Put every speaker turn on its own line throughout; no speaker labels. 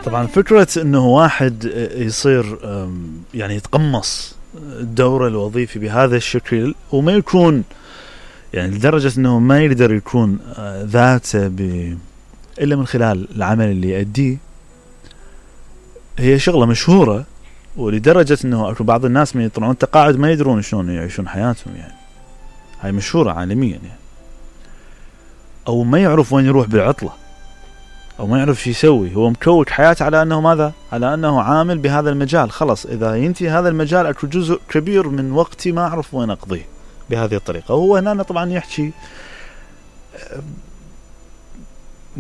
طبعا فكرة انه واحد يصير يعني يتقمص الدور الوظيفي بهذا الشكل وما يكون يعني لدرجة انه ما يقدر يكون ذاته الا من خلال العمل اللي يؤديه، هي شغلة مشهورة. ولدرجة انه اكو بعض الناس من يطلعون تقاعد ما يدرون شلون يعيشون حياتهم، يعني هاي مشهورة عالميا يعني. او ما يعرف وين يروح بالعطلة، او ما يعرف شو يسوي. هو مكوك حياته على انه ماذا؟ على انه عامل بهذا المجال. خلص اذا ينتهي هذا المجال اكو جزء كبير من وقتي ما اعرف وين اقضيه بهذه الطريقة. وهو هنا طبعا يحكي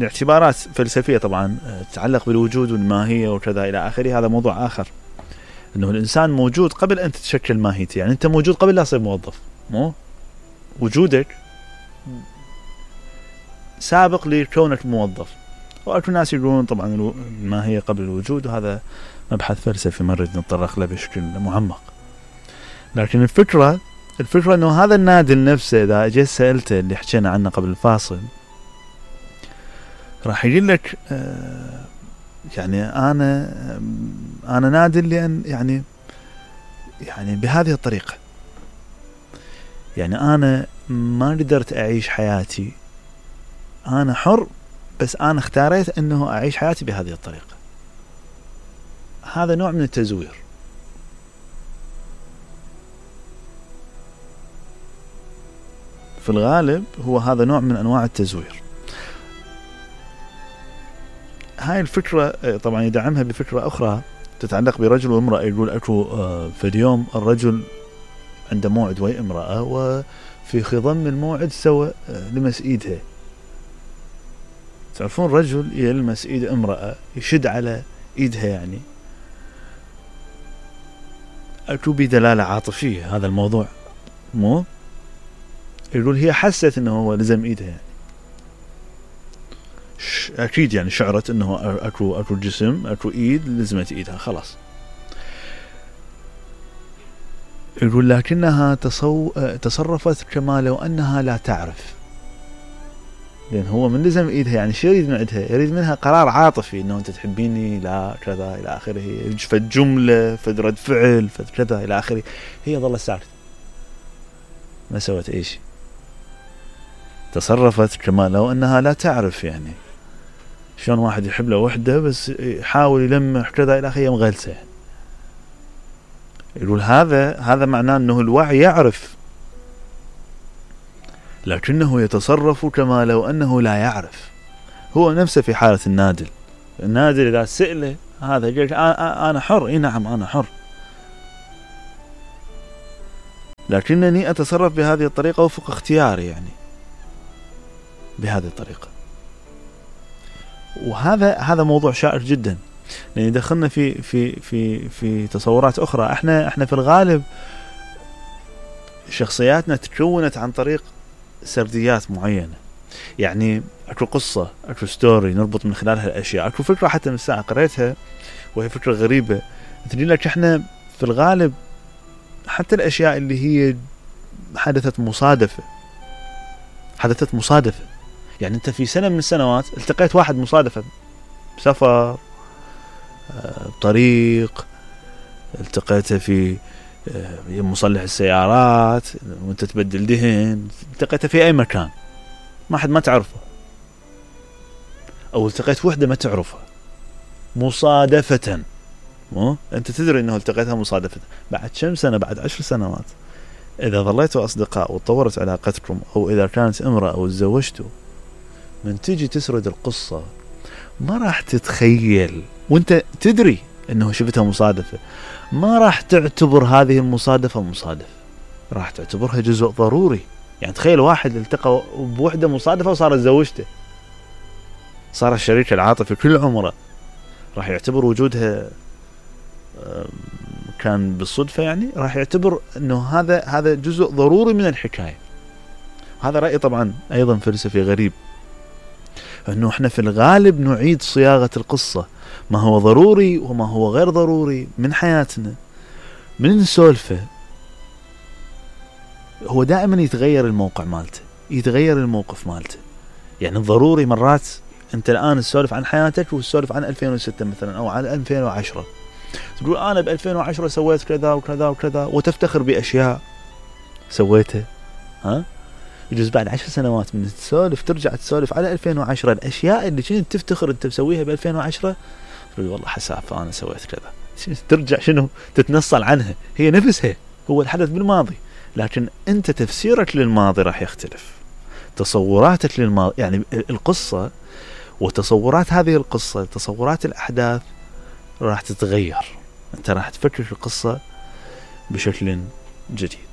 اعتبارات فلسفية طبعا تتعلق بالوجود والماهية وكذا الى اخره. هذا موضوع اخر، انه الانسان موجود قبل ان تتشكل ماهيته. يعني انت موجود قبل لا تصير موظف، مو وجودك سابق لكونك موظف. واكو ناس يقولون طبعا الماهية قبل الوجود، وهذا مبحث فلسفي ما نريد نتطرق له بشكل معمق. لكن الفكرة انه هذا النادل نفسه اذا اجيت سألته اللي حكينا عنه قبل الفاصل راح يقول لك يعني انا نادل لان يعني بهذه الطريقة. يعني انا ما قدرت اعيش حياتي، انا حر، بس انا اختاريت انه اعيش حياتي بهذه الطريقة. هذا نوع من التزوير. في الغالب هو هذا نوع من انواع التزوير. هاي الفكرة طبعا يدعمها بفكرة اخرى تتعلق برجل وامرأة. يقول اكو في اليوم الرجل عنده موعد ويا امرأة، وفي خضم الموعد سوى لمس ايدها. تعرفون رجل يلمس ايد امرأة يشد على ايدها، يعني اكو بدلالة عاطفية هذا الموضوع، مو يقول هي حست انه هو لزم ايدها، يعني اكيد يعني شعرت انه اكو جسم، اكو ايد لزمت ايدها خلاص. يقول لكنها تصرفت كما لو انها لا تعرف، لان هو من لزم ايدها. يعني شو يريد من عندها؟ يريد منها قرار عاطفي انه انت تحبيني، لا كذا الى اخره، فد جمله، فد رد فعل، فد كذا الى اخره. هي ظلت ساكتة ما سوت اي شيء، تصرفت كما لو انها لا تعرف. يعني شلون واحد يحب له وحده بس يحاول يلمح كذا الى اخره مغلسه. يقول هذا معناه انه الوعي يعرف، لكنه يتصرف كما لو انه لا يعرف. هو نفسه في حالة النادل اذا سئله هذا يقول انا حر. اي نعم انا حر، لكنني اتصرف بهذه الطريقة وفق اختياري، يعني بهذه الطريقة. وهذا موضوع شائك جدا، لأن دخلنا في تصورات أخرى. احنا في الغالب شخصياتنا تكونت عن طريق سرديات معينة. يعني اكو قصة، اكو ستوري نربط من خلالها الاشياء. اكو فكرة حتى من الساعة قريتها وهي فكرة غريبة تقول لك احنا في الغالب حتى الاشياء اللي هي حدثت مصادفة. يعني انت في سنة من السنوات التقيت واحد مصادفة بسفر، بطريق، التقيته في مصلح السيارات وانت تبدل دهن، التقيته في اي مكان ما حد ما تعرفه، او التقيت وحدة ما تعرفها مصادفة. مو انت تدري انه التقيتها مصادفة. بعد كم سنة، بعد 10 سنوات اذا ظليتوا اصدقاء وتطورت علاقتكم، او اذا كانت امرأة او تزوجتوا، من تيجي تسرد القصة ما راح تتخيل وانت تدري انه شفتها مصادفة، ما راح تعتبر هذه المصادفة مصادفة، راح تعتبرها جزء ضروري. يعني تخيل واحد التقى بوحدة مصادفة وصارت زوجته، صار الشريك العاطفي كل عمره، راح يعتبر وجودها كان بالصدفة. يعني راح يعتبر انه هذا جزء ضروري من الحكاية. هذا رأي طبعا ايضا فلسفي غريب، انه احنا في الغالب نعيد صياغة القصة، ما هو ضروري وما هو غير ضروري من حياتنا من نسولفه. هو دائما يتغير الموقع مالته، يتغير الموقف مالته. يعني الضروري مرات انت الان تسولف عن حياتك وتسولف عن 2006 مثلا او عن 2010، تقول انا ب 2010 سويت كذا وكذا وكذا وتفتخر باشياء سويتها. يجوز بعد 10 سنوات من تسولف ترجع تسولف على 2010 الاشياء اللي كنت تفتخر انت تسويها ب 2010 تقول والله حساف انا سويت كذا. ترجع شنو تتنصل عنها، هي نفسها، هو الحدث بالماضي، لكن انت تفسيرك للماضي راح يختلف، تصوراتك للماضي، يعني القصة وتصورات هذه القصة، تصورات الأحداث راح تتغير، أنت راح تفكر في القصة بشكل جديد.